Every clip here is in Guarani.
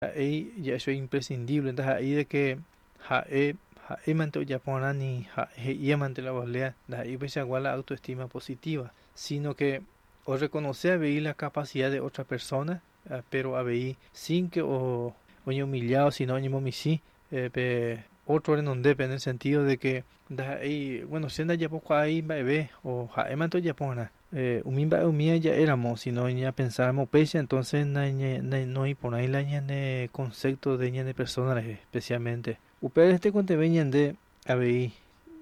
Ndaha'éi ja'e imprescindible, ndaha'éi de que ha'e ha'émante ojaporã ni ha'e he'iémante la ovalea, ndaha'éi upeichagua la autoestima positiva, sino que o reconoce avei la capacidad de otra persona, pero avei sin que o oñehumillado, sino oñemomichĩ pe otro renondépe, en el sentido de que ndaha'éi, bueno, che ndajapokuaái mba'eve o ha'émante ojaporã. Umi mba'e umíva ja'éramo, sino ñapensáramo upéicha, entonces noĩporãi la ñane concepto de ñane persona rehe, especialmente. Upévare tekotevẽ ñande avei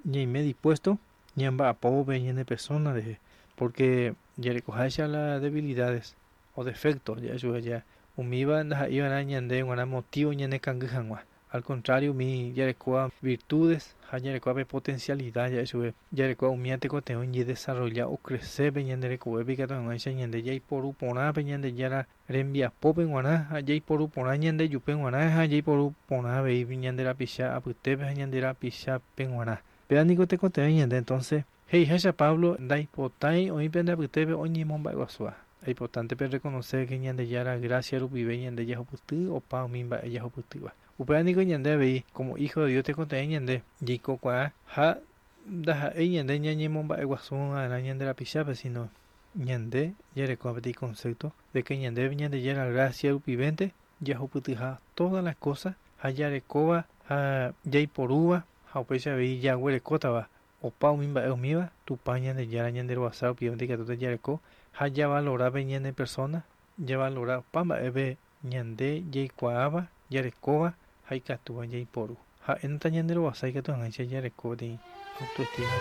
ñaime dispuesto ñamba'apóvo pe ñane persona rehe, porque jarekoháicha la debilidades o defectos ja'e chupe ja umíva ndaha'éiva'erã ñande g̃uarã motivo ñanekangy hag̃ua. Al contrario, umi jarekóva virtudes ha jarekóva pe potencialidad ja'e chupe, jarekóva umíva tekotevẽ oñedesarrolla ocrece pe ñande rekovépe ikatu hag̃uáicha ñande jaiporu porã pe Ñandejára rembiapópe g̃uarã ha jaiporu porã ñandejupe g̃uarã ha jaiporu porã avei ñande rapicha apytépe ha ñande rapichápe g̃uarã. Péva niko tekotevẽ ñande entonces he'iháicha Pablo ndaipotái oĩ pende apytépe oñemomba'eguasúva. Aipotánte pe reconocer que Ñandejára gracia rupive ñande jahupyty opa umi mba'e jahupytýva. Upéva niko ñande avei como hijo de Dios tekotevẽ ñande jaikokuaa ha ndaha'éi ñande ñañemomba'eguasuva'erã ñande rapichápe, sino ñande jarekóva peteĩ concepto de que ñande Ñandejára gracia rupivénte jahupytyha todas las cosas ha jarekóva ha jaiporúva ha upéicha avei jaguerekótava opa umi mba'e umíva Tupã Ñandejára ñanderovasa rupivénte ikatúta jareko ha javalora pe ñane persona, javalora opa mba'épe ñande jaikuaáva, jarekóva ha ikatúva jaiporu. Ha'énta ñanderovasa ikatu hag̃uáicha jareko peteĩ autoestima.